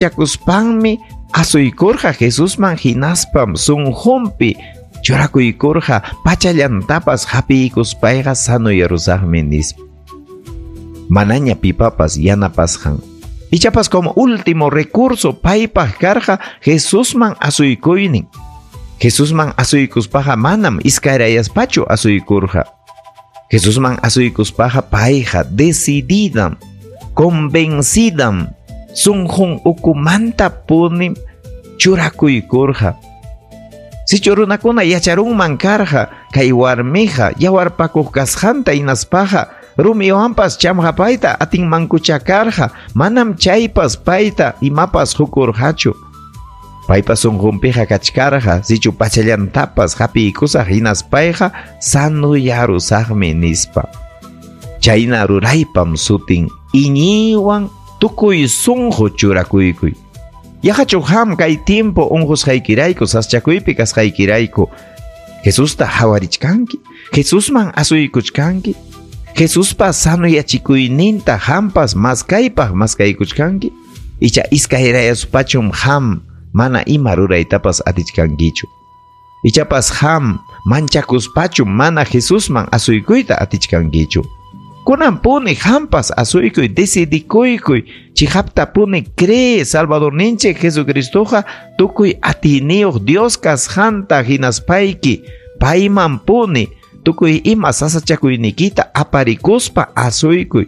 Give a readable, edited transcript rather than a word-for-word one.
Manchakuspanmi asuykurqa Jesusman hinaspam sunqunpi churakuykurqa pachallantapas hapiykuspayqa sanoyarusaqmi nispa. Manaña pipapas yanapasqan. Ichapas como último recurso paypaq karqa Jesusman asuykuynin. Jesusman asuykuspaqa manam iskayrayaspachu asuykurqa. Jesusman asuykuspaqa payqa decididam, convencidam, sunqun ukumanta punim churakuykurqa. Sichu runakuna yacharunman karqa kay warmiqa yawarpakuq kasqanta hinaspaqa rumiwanpas chamqapayta atinmankucha karqa, manam chaypas payta imapas hukurqachu. Paypa sunqunpiqa kachkarqa sichu pachallantapas hapiykusaq hinaspayqa sanoyarusaqmi nispa. Chayna ruraypam sutin iñiywan tukuy sunqu churakuykuy. Yaqachu qam kay tiempo unqusqaykirayku saschakuypi kasqaykirayku Jesusta hawarichkanki, Jesusman asuykuchkanki, Jesuspa sanoyachikuyninta qampas maskaypaq maskaykuchkanki, icha iskayrayaspachum qam mana ima ruraytapas atichkankichu. Ichapas qam manchakuspachum mana Jesusman asuykuyta atichkankichu. Kunan puni qampas asuykuy, decidikuykuy, chiqapta puni cree Salvadorninchik Jesucristoqa tukuy atiyniyuq Dios kasqanta hinaspayki payman puni tukuy ima sasachakuynikita aparikuspa asuykuy.